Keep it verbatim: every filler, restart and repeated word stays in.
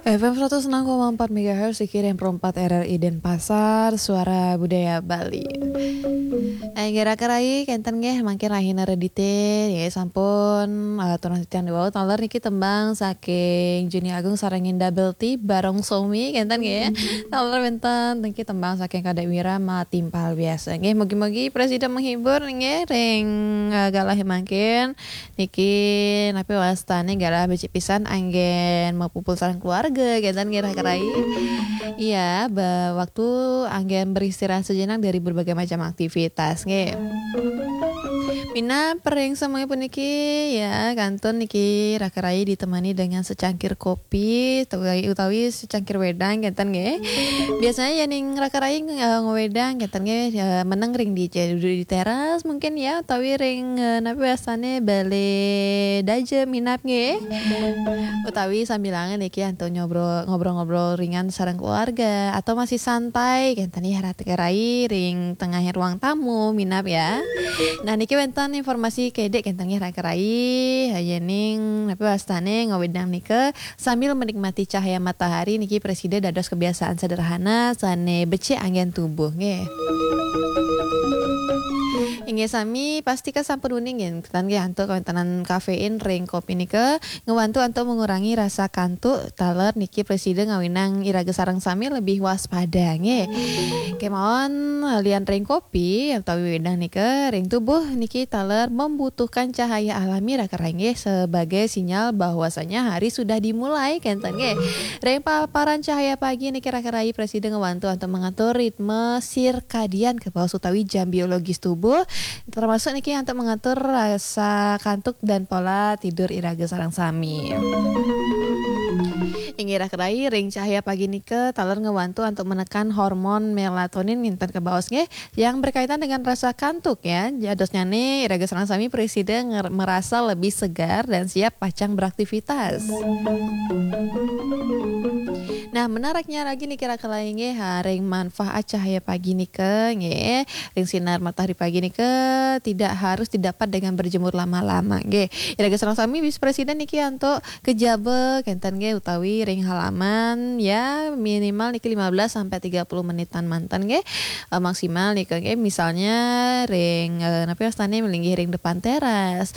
F M seratus enam koma empat megahertz, Sikiring perempat R R I Denpasar, Suara Budaya Bali. Inggih raka rayi, kenten nggih, mangkin rahina Redite, nggih, sampun, eh, turun titiang wau, taler niki tembang saking Juni Agung sareng Indah Belty, Barong Somi, kenten nggih. Taler wenten niki tembang saking Kadek Wira, Matimpal Biasa. Nggih, mugi-mugi presida menghibur nggih, ring, eh, galah mangkin. Niki napi wastane galah becik pisan anggen mapupul sareng keluarga, kenten nggih raka rayi. Iya, ba-, waktu anggen beristirahat sejenak dari berbagai macam aktivitas, nggih. Minab ring semuanya puniki, ya, kantun niki raka rayi ditemani dengan secangkir kopi, utawi, utawi secangkir wedang, kenten nggih. Biasanya ya ning raka rayi, eh, ngewedang, kenten nggih, eh, meneng ring di, di teras mungkin ya, utawi ring, eh, napi wastane bale daja minab nggih. Utawi sambilangan niki antuk nyobro-, ngobrol-ngobrol ringan sareng keluarga atau masih santai, kenten ya raka rayi ring tengah ruang tamu minab ya. Nah, niki wenten informasi kedek kenten ya raka rayi, ya ning napi wastane ngewedang nika sambil menikmati cahaya matahari niki presida dados kebiasaan sederhana sane becik anggen tubuh nggih. Inggih sami, pastika sampun uning nggih, kenten nggih antuk kawentenan kafein ring kopi nika ngewantu antuk mengurangi rasa kantuk, taler niki presida ngawinang iraga sareng sami lebih waspada nggih. Kemawon lian ring kopi utawi wedang nika ring tubuh niki taler membutuhkan cahaya alami raka rayi nggih sebagai sinyal bahwasanya hari sudah dimulai, kenten nggih. Ring paparan cahaya pagi niki raka rayi presida ngewantu antuk mengatur ritme sirkadian kabaos utawi jam biologis tubuh, termasuk niki antuk mengatur rasa kantuk dan pola tidur iraga sareng sami. Inggih raka rayi, ring cahaya pagi nika taler ngewantu antuk menekan hormon melatonin nginten kabaos nggih, yang berkaitan dengan rasa kantuk ya. Jadosnyane iraga sareng sami presida nger-, merasa lebih segar dan siap pacang beraktivitas. Nah, menariknya lagi niki raka rayi nggih, ha, ring manfaat cahaya pagi nika nggih, ring sinar matahari pagi nika tidak harus didapat dengan berjemur lama-lama nggih. Iraga sareng sami bisa presida niki antuk kejaba kenten nggih utawi ring halaman ya minimal niki lima belas sampai tiga puluh menitan manten nggih. Eh, maksimal nika nggih misalnya ring, eh, napi wastane melinggih ring depan teras.